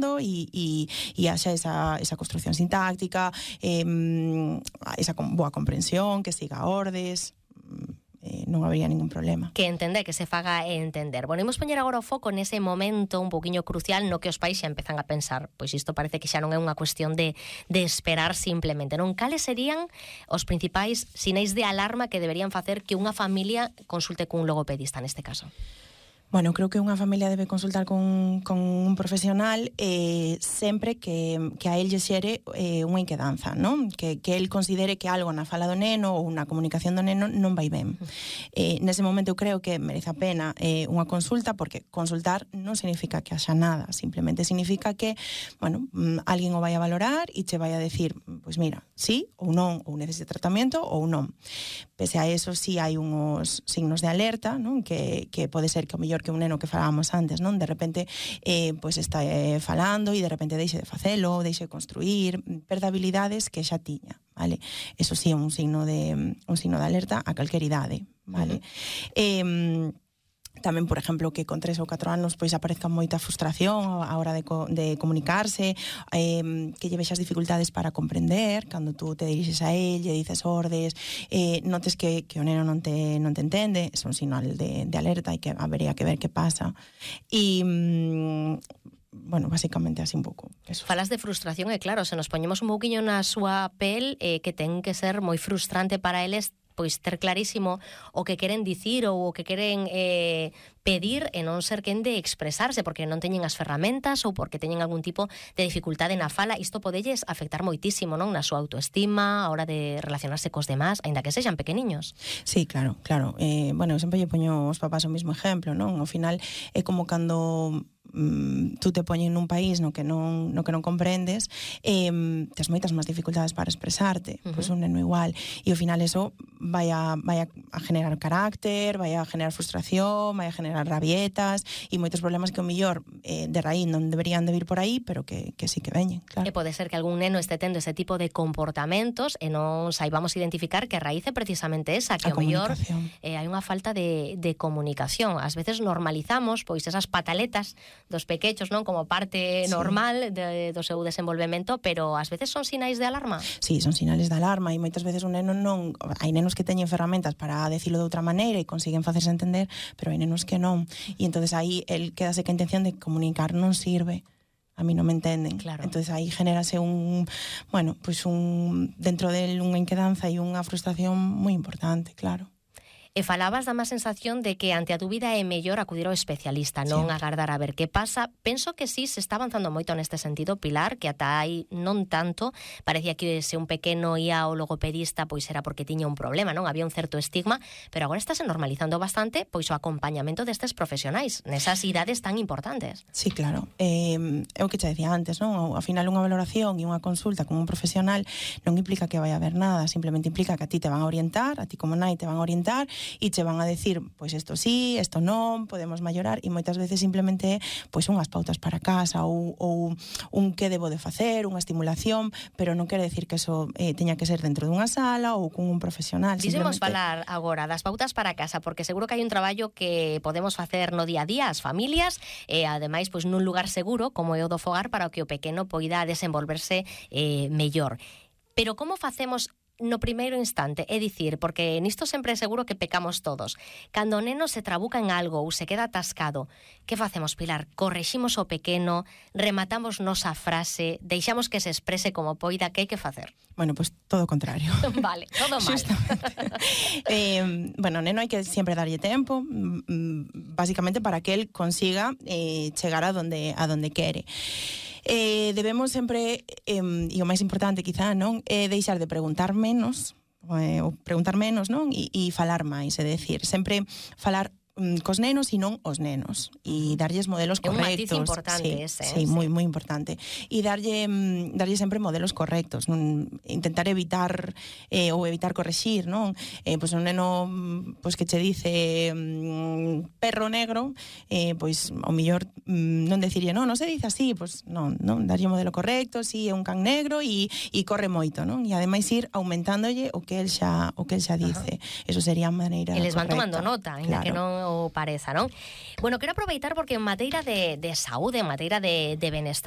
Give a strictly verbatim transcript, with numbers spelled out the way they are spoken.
falando e, e, e haxa esa, esa construcción sintáctica, eh, esa boa comprensión, que siga ordes, eh, non habería ningún problema. Que entender, que se faga entender. Bueno, imos poñer agora o foco nese momento un poquinho crucial no que os pais xa empezan a pensar, pois isto parece que xa non é unha cuestión de, de esperar simplemente, non? Cales serían os principais sinais de alarma que deberían facer que unha familia consulte cun logopedista neste caso? Bueno, creo que unha familia debe consultar con, con un profesional eh, sempre que, que a él lle xere eh, unha inquedanza, non? Que, que él considere que algo na fala do neno ou na comunicación do neno non vai ben. Eh, nese momento eu creo que merece a pena eh, unha consulta, porque consultar non significa que haxa nada, simplemente significa que, bueno, alguén o vai a valorar e che vai a decir, pois mira, sí ou non, ou necesita tratamento ou non. Pese a eso, sí hai uns signos de alerta, non? Que, que pode ser que o mellor que un neno que falábamos antes, non? De repente eh, pues está eh, falando e de repente deixe de facelo, deixe de construir, perda habilidades que xa tiña, vale? Eso sí é un signo de un signo de alerta a calquer idade, vale? Uh-huh. Eh, tamén, por exemplo, que con tres ou catro anos pois aparezca moita frustración a hora de, co de comunicarse, eh, que lle vexas dificultades para comprender, cando tú te dirixes a él, lle dices ordes, eh, notes que, que o neno non te, non te entende, é un sinal de, de alerta e que habería que ver que pasa. E... Mm, bueno, basicamente así un pouco eso. Falas de frustración e claro, se nos poñemos un pouquiño na súa pel, eh, que ten que ser moi frustrante para eles pois ter clarísimo o que queren dicir ou o que queren eh, pedir e non ser quen de expresarse porque non teñen as ferramentas ou porque teñen algún tipo de dificultade na fala. Isto podelles afectar moitísimo, non? Na súa autoestima, a hora de relacionarse cos demás, aínda que sexan pequeniños. Sí, claro, claro. Eh, bueno, eu sempre lle poño aos papás o mesmo exemplo, non? Ao final é como cando mm, tú te poñen nun país no que non, no que non comprendes, eh, tes moitas máis dificultades para expresarte, uh-huh. Pois un neno igual, e ao final eso vai a, vai a generar carácter, vai a generar frustración, vai a generar rabietas e moitos problemas que o millor eh, de raíz non deberían de vir por aí, pero que, que sí que veñen, claro. E pode ser que algún neno este tendo ese tipo de comportamentos e non saibamos identificar que a raíz é precisamente esa, que o mellor eh, hai unha falta de, de comunicación. Ás veces normalizamos pois esas pataletas dos pequechos, non, como parte sí. normal de, do seu desenvolvemento, pero ás veces son sinais de alarma. Sí, son sinais de alarma e moitas veces un neno non... Hai nenos que teñen ferramentas para decirlo de outra maneira e consiguen facerse entender, pero hai nenos que non. E entonces aí el quedase que a intención de comunicar non sirve. A mí non me entenden. Claro. Entonces aí genérase un, bueno, pues un dentro del unha inquedanza e unha frustración moi importante, claro. E falabas da má sensación de que ante a dúbida é mellor acudir ao especialista, non sí. agardar a ver que pasa. Penso que sí, se está avanzando moito neste sentido, Pilar, que ata aí non tanto. Parecía que se un pequeno ia ao logopedista, pois era porque tiña un problema, non? Había un certo estigma, pero agora estáse normalizando bastante pois o acompañamento destes profesionais, nesas idades tan importantes. Sí, claro. Eh, é o que te decía antes, non? Ao final unha valoración e unha consulta con un profesional non implica que vai a haber nada, simplemente implica que a ti te van a orientar, a ti como nai te van a orientar, e che van a decir, pois isto sí, isto non, podemos mellorar, e moitas veces simplemente pois unhas pautas para casa ou, ou un que debo de facer, unha estimulación, pero non quere decir que eso eh, teña que ser dentro dunha sala ou con un profesional. Dixemos falar agora das pautas para casa, porque seguro que hai un traballo que podemos facer no día a día as familias, e ademais pois nun lugar seguro como é o do fogar para que o pequeno poida desenvolverse eh, mellor. Pero como facemos no primeiro instante? É dicir, porque nisto sempre é seguro que pecamos todos. Cando o neno se trabuca en algo ou se queda atascado, que facemos, Pilar? Correximos o pequeno, rematamos nosa frase, deixamos que se exprese como poida, que hai que facer? Bueno, pues todo o contrario. Vale, todo mal. eh, bueno, o neno hai que sempre darlle tempo, basicamente para que el consiga eh, chegar a donde, a donde quere. Eh, debemos sempre, eh, e o máis importante quizá, non, é deixar de preguntar menos, eh, ou preguntar menos, non, e, e falar máis, é dicir, sempre falar cos nenos e non os nenos, e darlles modelos correctos. É un matiz importante sí, ese. Sí, sí, moi, moi importante. E darlle, darlle sempre modelos correctos, non intentar evitar eh, ou evitar correxir, non? Eh, pois un neno pois que che dice mm, perro negro, eh, pois ao mellor mm, non deciría, non, non se dice así, pois non, non, darlle o modelo correcto, si é un can negro e, e corre moito, non? E ademais ir aumentándolle o que el xa o que el xa dice. Ajá. Eso sería a maneira correcta. E les van tomando nota, ainda claro. que non o pareza, non? Bueno, quero aproveitar porque en mateira de, de saúde, en mateira de, de benestar,